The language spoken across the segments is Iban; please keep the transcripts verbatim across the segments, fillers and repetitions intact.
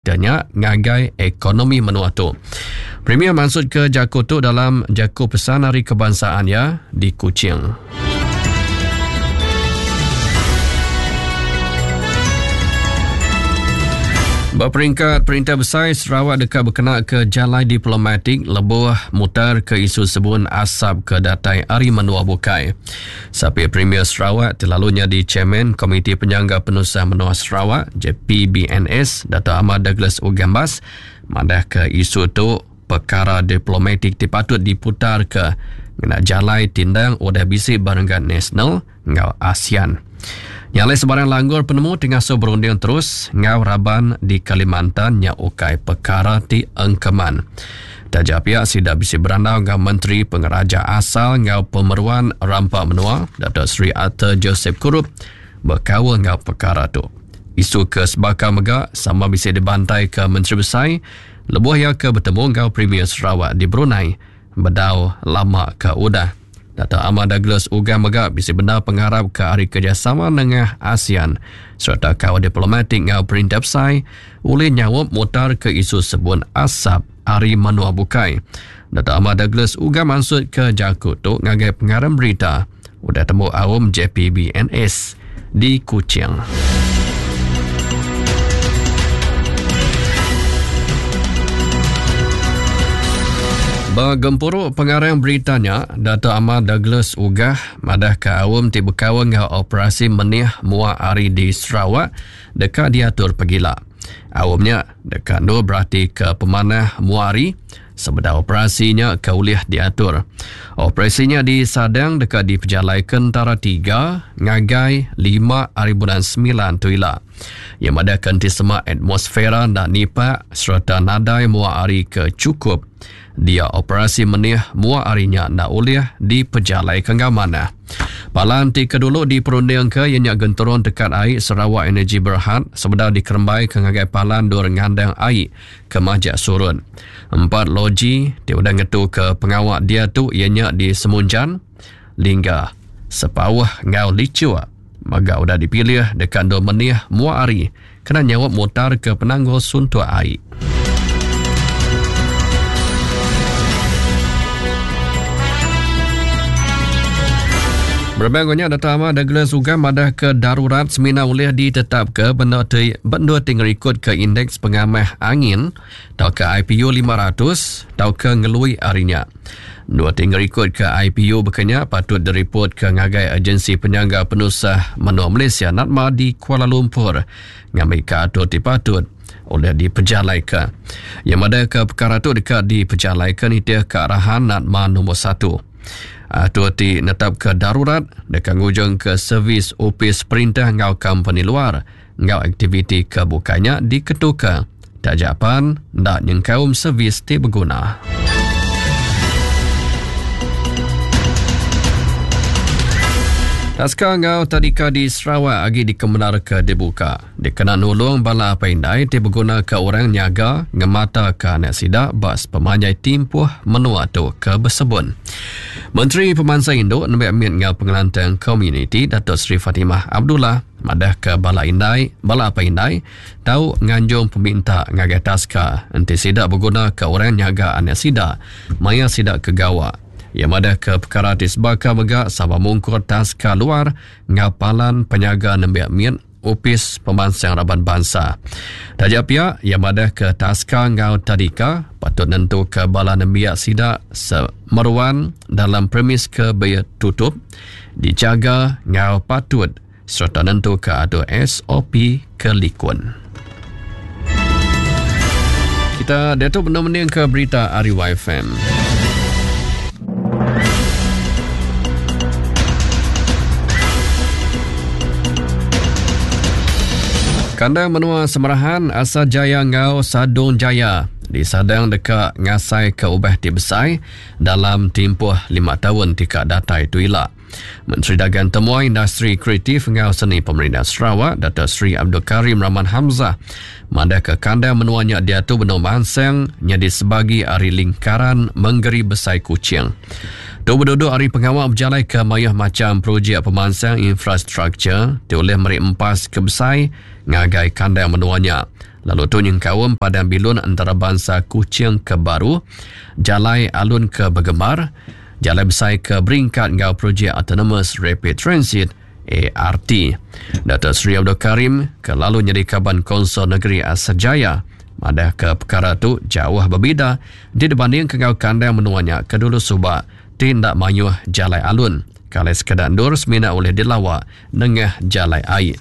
Nya ngagai ekonomi menua tu. Premier maksud ke jaku tu dalam jaku pesan hari kebangsaan ya di Kuching. Berperingkat Perintah Besai Sarawak dekat berkena ke jalai diplomatik lebuh mutar ke isu sebun asap ke datai ari menua bukai. Sapi Premier Sarawak terlalunya di Chairman Komiti Penyangga Penusah Menua Sarawak J P B N S Dato' Ahmad Douglas Uggah Embas madah ke isu tu perkara diplomatik ti patut diputar ke ngena jalai tindang udah bisi barenggat nasional ngau ASEAN. Nyalai sebarang langgur penemu tengah so berunding terus ngau raban di Kalimantan nya ukai perkara ti engkeman. Taja pihak sida bisi berandau ngau Menteri Pengeraja Asal ngau Pemeruan Rampa Menua Dato' Seri Arthur Joseph Kurup berkaul ngau perkara tu. Isu ke sebaka mega sama bisi dibantai ke Menteri Besai lebuh ia ke bertemu ngau Premier Sarawak di Brunei bedau lama ke udah. Dato' Ahmad Douglas Uggah mega bisi benar pengharap ke hari kerjasama dengan ASEAN serta kawan diplomatik ngau Perintah Besai oleh nyawab mutar ke isu sebun asap hari menua bukai. Dato' Ahmad Douglas Uggah maksud ke jaku tu ngagai pengarang berita udah temu awam J P B N S di Kuching. Bergempuru pengarang beritanya, Dato' Ahmad Douglas Uggah madah ke awam ti berkawan dengan operasi menih mua hari di Sarawak dekat diatur pegila. Awamnya dekat nur berarti ke pemanah mua hari sebeda operasinya ke ulih diatur. Operasinya di Sadang dekat di Pejalai Kentara tiga ngagai lima hari bulan sembilan tu ila. Yang ada kenti semak atmosfera dan nipak serta nadai mua hari ke cukup. Dia operasi menih mua harinya nak ulih di Pejalai Kenggamana. Palan ti kedulu di perunding ke ianya genturun dekat air Sarawak Energy Berhad sebeda dikerembai ke ngagai palan dua ngandang air ke majak surut. Empat loji ti udah ngetu ke pengawak dia tu ianya di Semunjan, Lingga, Sepauh ngau Licua. Maga udah dipilih dekat dua menih mua hari kena nyawab mutar ke penanggul suntuk air. Berbanggonya Dato' Ahmad Douglas Uggah madah ke darurat semina ulih ditetap ke benda ti benda ti ngerikut ke indeks pengamah angin atau ke I P U lima ratus atau ke ngelui harinya. Dua ti ngerikut ke I P U berkenya patut diripot ke ngagai Agensi Penyangga Penusah Menua Malaysia NATMA di Kuala Lumpur ngambil ke atur ti patut oleh diperjalaika. Yang ada ke perkara tu dekat diperjalaika ni dia ke arahan NATMA nombor satu. Atur ti netap ke darurat dekat ngujung ke servis opis perintah ngau company luar ngau aktiviti kebukanya diketuka. Tak japan ndak nyengkaum servis ti berguna. Taska ngau tadika di Sarawak agi dikemenar ke dibuka. Dikena nulung bala apa indai ti berguna ke orang nyaga ngemata ke anak sida bas pemanjai timpuh menua tu ke bersebun. Menteri Pemansang Induk Nembiak Mit ngau Pengelantang Komuniti Dato' Seri Fatimah Abdullah madah ke bala indai, bala apa indai tau nganjung peminta ngagai taska enti sida berguna ke orang nyaga anak sida maya sida ke gawa. Ia madah ke perkara ti sebaka mega sama mungkur taska luar ngau palan penyaga nembiak mit Opis Pemansang Raban Bangsa. Taja pia, ia madah ke taska ngau tadika patut nentu ke bala nembiak sida semeruan dalam premis ke tutup dijaga ngau patut serta nentu ke atur S O P ke likun. Kita datuk benar-benar ke berita R Y F M. Kandang menua Semerahan Asa Jaya ngau Sadong Jaya disadang dekat ngasai ke ubah ti besai dalam tempoh lima tahun tika datai tu ila. Menteri Dagang Temuai Industri Kreatif ngau Seni Pemerintah Sarawak Dato' Seri Abdul Karim Rahman Hamzah madah ke kandang menuanya dia tu benar mansang nyadi sebagi ari lingkaran Menggeri Besai Kuching. Tu berduduk hari pengawal berjalai ke mayuh macam projek pemansang infrastruktur ti oleh meri empas ke besai ngagai kandang menuanya. Lalu tu nyengkaum Padang Bilun Antarabangsa Kuching ke baru, Jalai Alun ke Begembar, Jalai Besai ke Beringkat enggau projek Autonomous Rapid Transit A R T. Dato Seri Abdul Karim ke lalu nyadi kaban Konsol Negeri Asajaya madah ke perkara tu jauh berbeza dibanding ke ngau kandang menuanya ke dulu subak tindak mayuh jalai alun. Kalau sekadar ndur semina oleh dilawak nengah jalai air.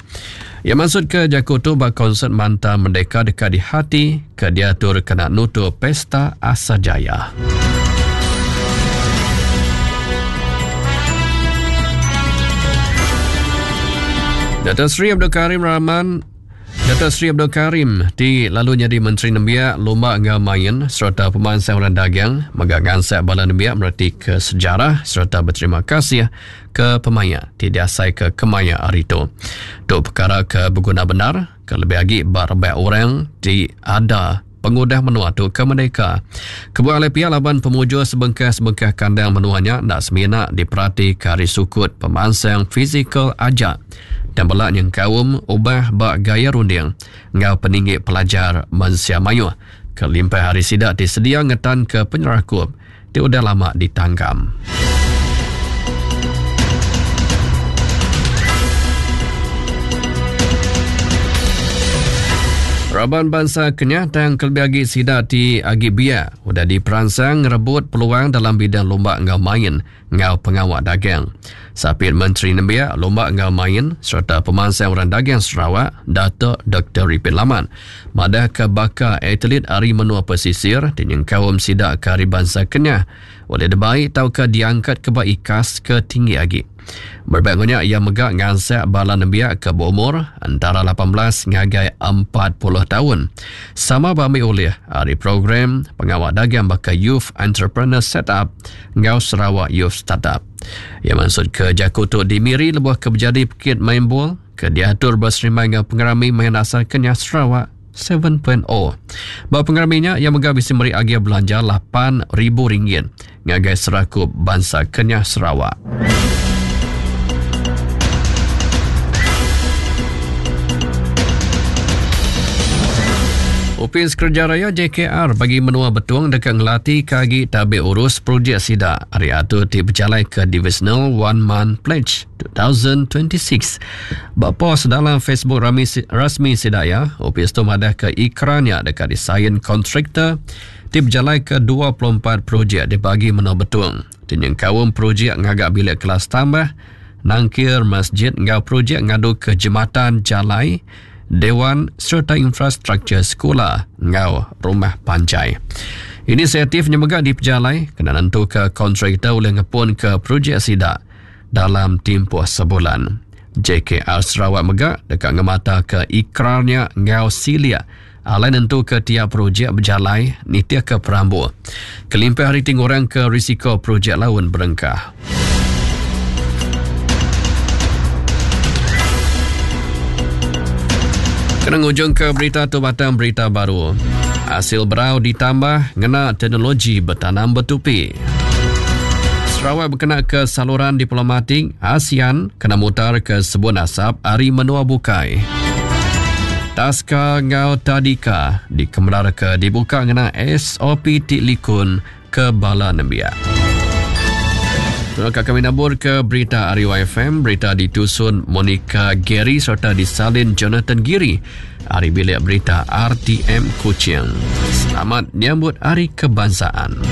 Ia maksud ke jaku tu bak konsert Manta Merdeka dekat di hati ke diatur kena nutup Pesta Asajaya. Dato Seri Abdul Karim Rahman Dato Seri Abdul Karim ti lalu jadi Menteri Nembiak Lumba Enggau Main serta Pemansang Orang Dagang mega ngansak bala nembiak mereti ke sejarah serta berterima kasih ke pemaya ti diasai ke kemaya hari tu. Tu perkara ke berguna benar ke lebih lagi barabak orang ti ada pengudah menua tu ke mereka. Kebuah oleh pihak laban pemujur sebengkah-sebengkah kandang menuanya nak semina diperhati ke hari sukut pemansang fizikal ajak dan belak yang kaum ubah bak gaya runding ngau peninggi pelajar mensia mayuh kelimpah hari sidak disedia ngetan ke penyerakup ti udah lama ditanggam. Raban bangsa kenyatang kelebih agi sidak ti agi biak udah diperansang ngerebut peluang dalam bidang lumba enggau main enggau pengawal dagang. Sapit Menteri Nembiak Lumba enggau Main serta Pemansang Orang Dagang Sarawak, Dato' Doktor Ripin Laman, madah ke baka atlet ari menua pesisir ti nyengkaum sidak ke ari bangsa Kenyah oleh debai tauka diangkat ke ba ikas ke tinggi agi. Berbangnya ia megak ngansak bala nembiak ke berumur antara lapan belas ngagai empat puluh tahun. Sama bami oleh hari program pengawal dagang baka Youth Entrepreneur Setup ngau Sarawak Youth Startup. Ia maksud ke jaku tu dimiri lebuh ke berjadi pekit main bol ke diatur berserimai ngau pengerami main asal Kenyah Sarawak tujuh titik kosong. Ba pengeraminya ia megak bisi meri agia belanja lapan ribu ringgit ngagai serakup bangsa Kenyah Sarawak. Opis Kerja Raya J K R bagi menua Betung dekat ngelati kagi tabik urus projek sidak hari atur ti berjalai ke Divisional One Month Pledge dua ribu dua puluh enam. Bak pos dalam Facebook rami, rasmi sidak ya, opis tu madah ke ikrannya dekat desain kontraktor ti berjalai ke dua puluh empat projek di bagi menua Betung. Tinyeng kaum projek ngagak bilik kelas tambah, nangkir masjid ngau projek ngadu ke jematan jalai, dewan serta infrastruktur sekolah ngau rumah panjai. Inisiatif nyemegak di pejalai kena nentu ke kontraktor oleh ngepun ke projek sidak dalam tempoh sebulan. J K R Sarawak megak dekat ngemata ke ikrarnya ngau silia alai nentu ke tiap projek berjalai nitia ke perambu. Kelimpah hari tingurang ke risiko projek laun berengkah. Kena ngujung ke berita tu batang berita baru. Hasil berau ditambah ngena teknologi bertanam bertupi. Sarawak berkena ke saluran diplomatik ASEAN kena mutar ke sebun asap ari menua bukai. Taska ngau Tadika dikemelar ke dibuka ngena S O P ti likun ke bala nembiak. Terima kami nabur ke berita Ari Y F M, berita ditusun Monica Gary serta disalin Jonathan Giri. Ari bilik berita R T M Kuching. Selamat menyambut Hari Kebangsaan.